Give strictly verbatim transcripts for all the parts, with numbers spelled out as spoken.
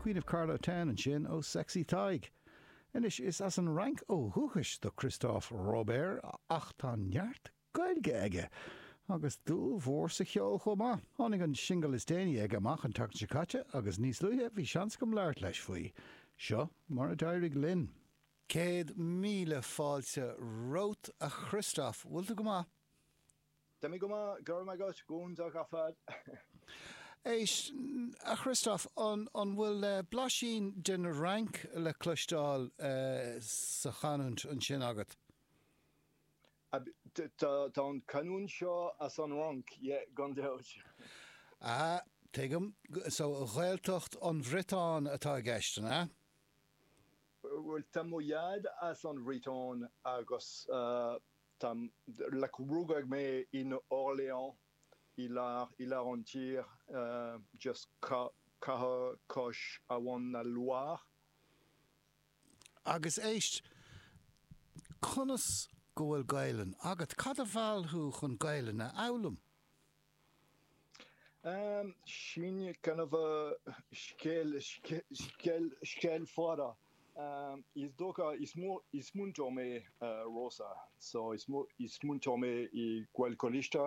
Queen of Carlow Town ansin ó Sexy Tadhg. Anois is as an Fhrainc ó dhúchas do Christophe Robert ach tá neart Gaeilge aige. Agus dúil mhór sa cheol chomh maith. Tháinig an singil is déanaí aige amach an tseachtain seo caite agus níos luaithe bhí seans agam labhairt leis faoi. Seo mar a d'éirigh linn. Céad míle fáilte romhat a Christophe, bhfuil tú go maith? Tá mé go maith go raibh maith agat go hiontach ar fad. Éist a Christophe an an bhfuil eh, blaisín den Fhrainc le cloisteáil uh, sa chanúint ansin agat? Tá an canúint seo as an Fhrainc gan dabht. Ah, tuigim so Ghaeltacht an Bhriotáin atá i gceist an ea? Well tá mo dhaid as an Bhriotáin agus uh, tá le rugadh mé in Orléans i lár i lár an tír uh, just cathair cois abhainn na Loire. Agus éist conas go bhfuil Gaelainn agat cad a mheall thú chun Gaelainn a fhoghlaim? Um, sin kind of a scéal scéal scéal fada. Um, is dócha is is múinteoir mé uh, Rosa, so is is múinteoir mé i Gaelcholáiste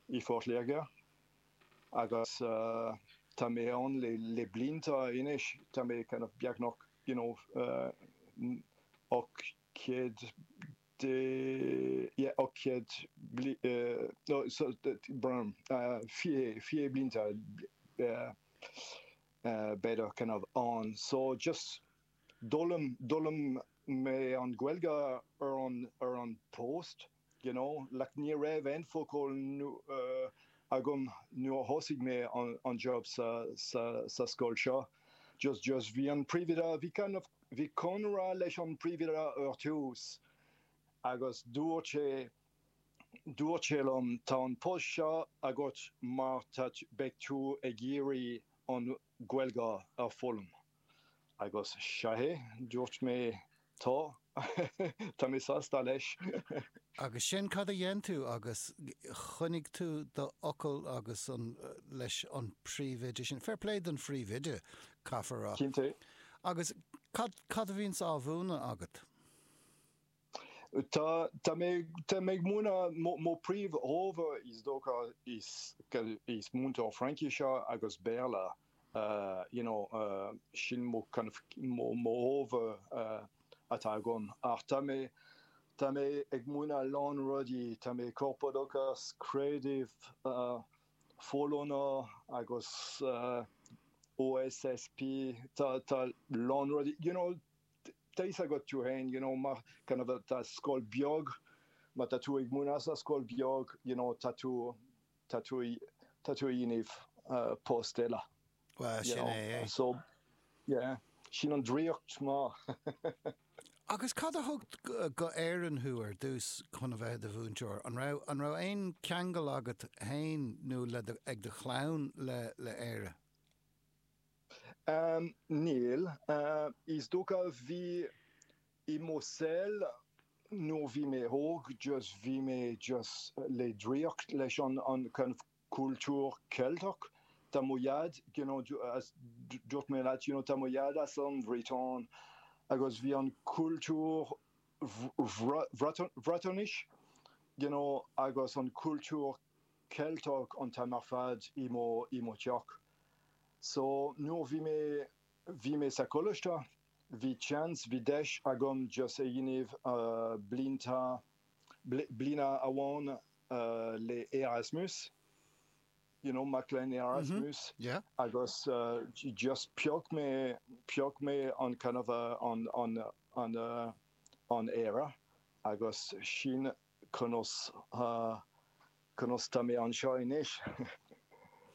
i Phort Láirge agus uh, tá mé ann le le blianta anois tá mé kind of beagnach you know uh, ocht céad de yeah, ocht céad uh, no, so, brown uh, fiche fiche blianta uh, uh, b'fhéidir kind of on so just d'fhoghlaim d'fhoghlaim mé an Ghaeilge ar an ar an post you know like ní raibh aon focal uh, agam nuair a thosaigh mé an, an job sa, sa, sa scoil seo just just bhí an príomhoide bhí kind of bhí conradh leis an príomhoide ar tús agus dúirt sé dúirt sé liom tá an post seo agat mar tá beidh tú ag iarraidh an Ghaeilge a fhoghlaim. Agus sé dúirt mé tá Tá mé sásta leis. Agus sin cad a dhein tú agus choinnigh tú do fhocal agus an leis an príomhoide sin. Fair play don phríomhoide caithfear a rá. Cinnte. Agus cad cad a bhíonn á mhúineadh agat? Tá tá mé tá mé múineadh mo príomhábhar is dócha is is múinteoir Fraincise agus Béarla uh, you know, uh, sin mo kind of mo mo ábhar uh, atá agam ach tá mé tá mé ag múineadh lán rudaí tá mé corpoideachas creideamh uh, folláine agus uh, OSSP tá tá lán rudaí you know, tá agat tú féin you know, mar kind of tá scoil beag má tá tú ag múineadh sa scoil beag you know, tá tú tá tú tá tú inniu uh, post eile. Well sin é é. So yeah, sin an draíocht má. Agus cad a thug go Éirinn thú ar dtús chun a bheith i do mhúinteoir, an raibh an raibh aon cheangal agat féin nó le ag do chlann le le Éire? Um, níl uh, is dócha bhí i mo shaol nuair bhí mé óg just bhí mé just le draíocht leis an an kind of cultúr Ceilteach Tá mo dhaid you know, dúirt mé leat you know, tá mo dhaid as an Bhriotáin agus bhí an cultúr Bhriotáinis you know, agus an cultúr Ceilteach an t-am ar fad i mo i mo theach. So nuair bhí mé bhí mé sa choláiste, bhí chance bhí deis agam just a dhéanamh uh, blianta bliana amháin uh, le Erasmus. You know, mac léinn Erasmus mm -hmm. yeah. agus uh, just phioc mé phioc mé an kind of uh, an an an uh, an Éire agus sin conas uh, conas tá mé anseo anois.